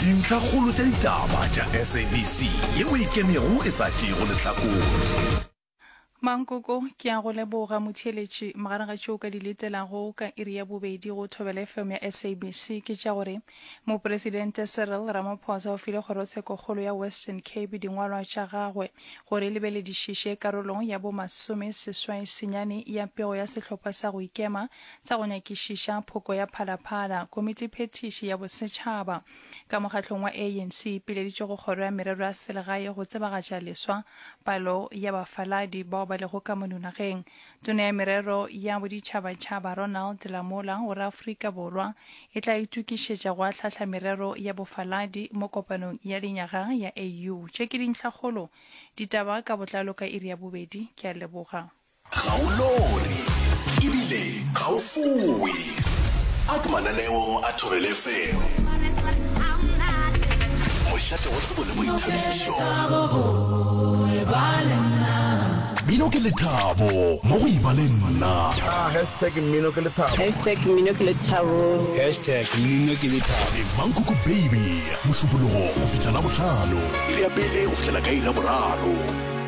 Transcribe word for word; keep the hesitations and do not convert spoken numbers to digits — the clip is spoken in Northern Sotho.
Dintlhakgolo tša ditaba tša S A B C yeo e ikemego e sa tšeego lehlakore. Mankoko, ke a go leboga motheeletši. Magareng ga tšeo ka di letelago ka iri ya bobedi go Thobela F M ya S A B C ke tša gore Mopresidente Cyril Ramaphosa o file Kgorotshekokgolo ya Western Cape dingwalwa tša gagwe gore e lebeledišiše karolo ya bo masome seswai senyane ya pego ya sehlopha sa go ikema sa go nyakišiša phoko ya Phalaphala. Komitiphethiši ya Bosetšhaba ka mokgatlong wa A N C e ipileditše go Kgoro ya Merero ya Selegae go tsebagatša leswa palo ya bafaladi bao ba lego ka mono nageng. Tona ya Merero ya Boditšhabatšhaba Ronald Lamola o re Afrika Borwa e tla itokišetša go ahlahla merero ya bofaladi mo kopanong ya lenyaga ya A U. Tše ke dintlhakgolo. Ditaba ka botlalo ka iri ya bobedi. Ke a leboga. Ga o lore ebile ga o fowe. A ke mananeo a Thobela F M, mošate wa tsebo le boithabišo. Mmino ke lethabo mo go Eba Le Nna. Ah, hashtag mmino ke lethabo. Hashtag mmino ke lethabo. Hashtag mmino ke lethabo. Le Mankoko Baby, Mošupologo go fihla Labohlano, iri ya pele go fihlela ka iri ya boraro.